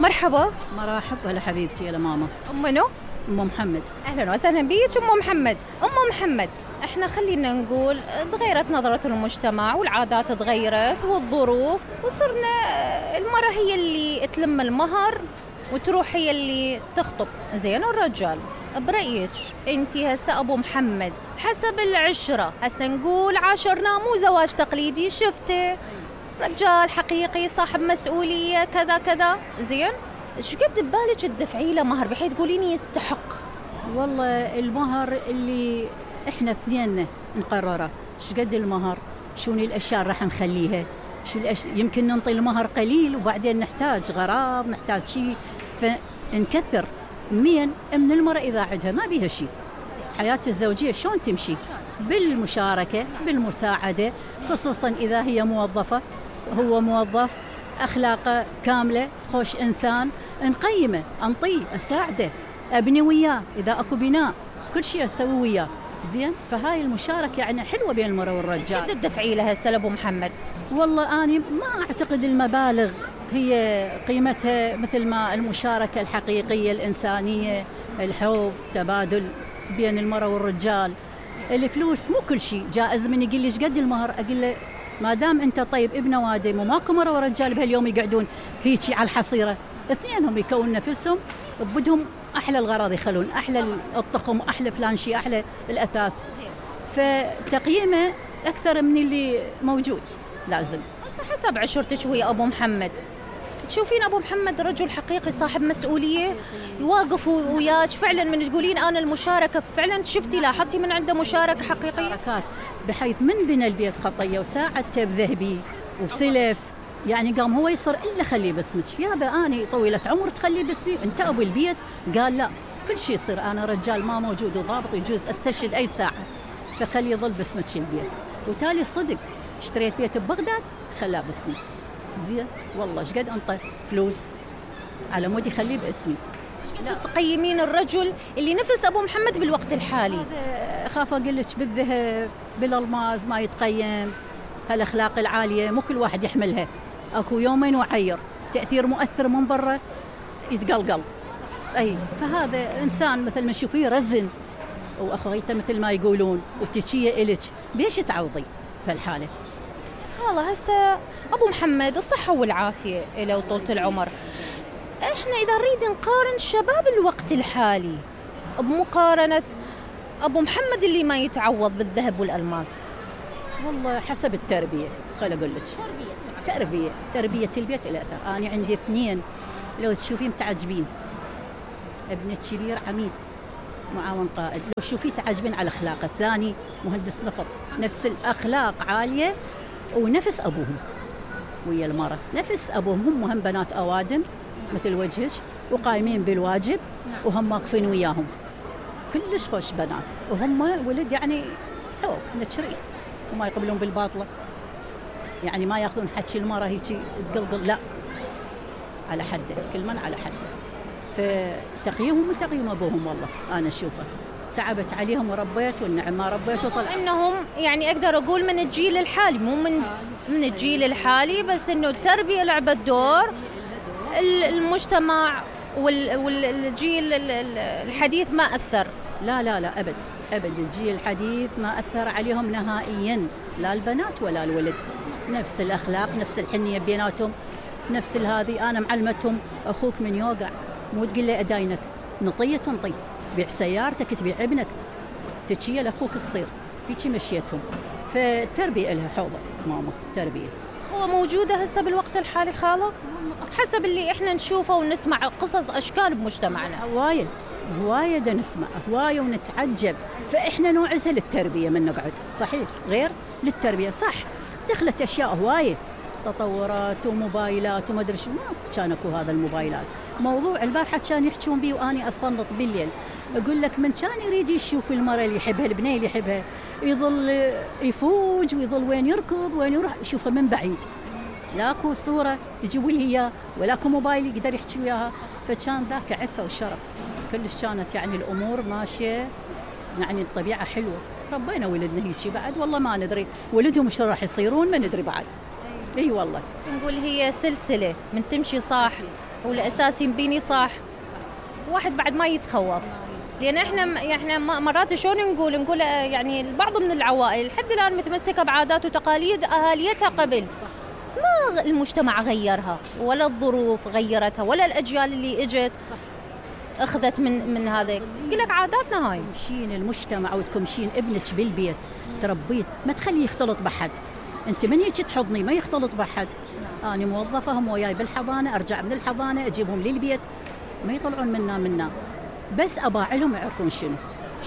مرحبا. مرحب. هلا حبيبتي. يا ماما. أم منو؟ أم محمد. أهلا وسهلا بيك أم محمد. أم محمد، إحنا خلينا نقول تغيرت نظرة المجتمع والعادات تغيرت والظروف، وصرنا المرأة هي اللي تلم المهر وتروح هي اللي تخطب. زين، الرجال برأيك انتي هسه أبو محمد حسب العشرة، هسه نقول عاشرنا مو زواج تقليدي، شفته رجال حقيقي صاحب مسؤولية كذا كذا، زين شقد ببالك تدفعي له مهر بحيث تقوليني يستحق؟ والله المهر اللي احنا اثنين نقرره، شقد المهر، شون الاشياء راح نخليها، يمكن ننطي المهر قليل وبعدين نحتاج غرام، نحتاج شيء، فنكثر من المرأة إذا عندها ما بيها شيء. حياة الزوجية شلون تمشي؟ بالمشاركة، بالمساعدة، خصوصا إذا هي موظفة، هو موظف، أخلاقه كاملة، خوش إنسان، نقيمه، أنطيه، أساعده، أبني وياه إذا أكو بناء، كل شيء أسوي وياه. زين، فهاي المشاركة يعني حلوة بين المرأة والرجال. قد تدفعي لها هسه أبو محمد؟ والله أنا ما أعتقد المبالغ هي قيمتها مثل ما المشاركة الحقيقية الإنسانية، الحب، تبادل بين المرأة والرجال. الفلوس مو كل شيء. جائز من يقول لي ايش قد المهر، اقول له ما دام انت طيب ابن وادم وماكو مرأة ورجال بهاليوم يقعدون هيجي على الحصيرة، اثنينهم يكون نفسهم بدهم احلى الغراض، يخلون احلى الطقم، احلى فلان شيء، احلى الاثاث، فتقييمه اكثر من اللي موجود لازم. حسب عشرتك ويا أبو محمد، تشوفين أبو محمد رجل حقيقي صاحب مسؤولية يواقف وياك فعلا؟ من تقولين أنا المشاركة فعلا شفتي لاحظتي من عنده مشاركة حقيقية؟ مشاركات بحيث من بنى البيت خطية وساعدته بذهبي وسلف، يعني قام هو يصر إلا خليه باسمك، يابا أنا طويلة عمر تخليه باسمي، أنت أبو البيت. قال لا، كل شيء يصير، أنا رجال ما موجود وضابط يجوز أستشهد أي ساعة، فخلي يظل باسمك البيت. وتالي صدق اشتريت بيت ببغداد خلاه باسمي. زين والله ايش قد انطى فلوس على مود يخليه باسمي. لا تقيمين الرجل اللي نفس ابو محمد بالوقت الحالي؟ اخاف اقول لك بالذهب بالالماس ما يتقيم، هالاخلاق العاليه مو كل واحد يحملها، اكو يومين وعير، تاثير مؤثر من برا يتقلقل. اي فهذا انسان مثل ما تشوفيه رزن واخويته مثل ما يقولون، وتشيه الك بيش تعوضي بهالحاله. خاله هسه أبو محمد الصحة والعافية له وطولة العمر، إحنا إذا نريد نقارن شباب الوقت الحالي بمقارنة أبو محمد اللي ما يتعوض بالذهب والألماس، والله حسب التربية. خل أقول لك تربية البيت إلى أثر. أنا عندي اثنين لو تشوفين تعجبين، ابن الكبير عميد معاون قائد، لو تشوفيه تعجبين على أخلاقه، الثاني مهندس نفط، نفس الأخلاق عالية ونفس أبوهم ويا المرة، نفس أبوهم، هم بنات أوادم مثل وجهك وقايمين بالواجب وهم واقفين وياهم، كلش خوش بنات، وهم ولد يعني حب نتشري وما يقبلون بالباطلة، يعني ما ياخذون حكي المرة هيك تقلقل، لا على حده، كل من على حده. فتقييمهم من تقييم أبوهم، والله أنا أشوفه تعبت عليهم وربيت، والنعم ما ربيت وطلع انهم يعني اقدر اقول من الجيل الحالي، مو من الجيل الحالي بس، انه التربيه لعبت دور، المجتمع والجيل الحديث ما اثر. لا لا لا ابد ابد، الجيل الحديث ما اثر عليهم نهائيا، لا البنات ولا الولد، نفس الاخلاق، نفس الحنيه بيناتهم، نفس هذه. انا معلمتهم اخوك من يوقع مو تقول له اداينك، نطيه تنطي، تبيع سيارتك، تبيع ابنك، تشيل لاخوك الصير، هيك مشيتهم. فالتربيه لها حوضه ماما، تربيه. هو موجوده هسه بالوقت الحالي خاله؟ حسب اللي احنا نشوفه ونسمع قصص اشكال بمجتمعنا، هوايه دا نسمع هوايه ونتعجب، فاحنا نوعزها للتربيه من نقعد، صحيح غير للتربيه، صح دخلت اشياء هوايه، تطورات وموبايلات وما ادري شو، ما كان اكو هذا الموبايلات. موضوع البارحه كان يحكون بيه واني اصنط بالليل، اقول لك من كان يريد يشوف المراه اللي يحبها، البنيه اللي يحبها، يظل يفوج ويظل وين يركض وين يروح يشوفها من بعيد، لاكو صوره يجيبوا لي اياه ولاكو موبايل يقدر يحكي وياها، فكان ذاك عفه وشرف كلش، كانت يعني الامور ماشيه، يعني الطبيعه حلوه. ربينا ولدنا هيك بعد، والله ما ندري ولدهم شو راح يصيرون، ما ندري بعد. اي والله نقول هي سلسله من تمشي صح والاساس ينبيني صح. واحد بعد ما يتخوف، لان احنا مرات شلون نقول يعني البعض من العوائل لحد الان متمسكه بعادات وتقاليد اهاليتها قبل، ما المجتمع غيرها ولا الظروف غيرتها ولا الاجيال اللي اجت اخذت من هذا. تقول لك عاداتنا هاي. تمشين المجتمع او تمشين ابنك بالبيت تربيه، ما تخليه يختلط بحد. انت من هيك تحضني ما يختلط بحد. انا موظفه هم وياي بالحضانه، ارجع من الحضانه اجيبهم للبيت ما يطلعون منا بس اباعلهم يعرفون شنو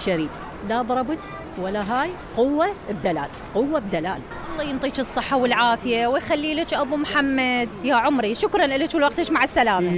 شريد. لا ضربت ولا هاي، قوه بدلال، قوه بدلال. الله ينطيك الصحه والعافيه ويخلي لك ابو محمد يا عمري. شكرا لك ولوقتك، مع السلامه.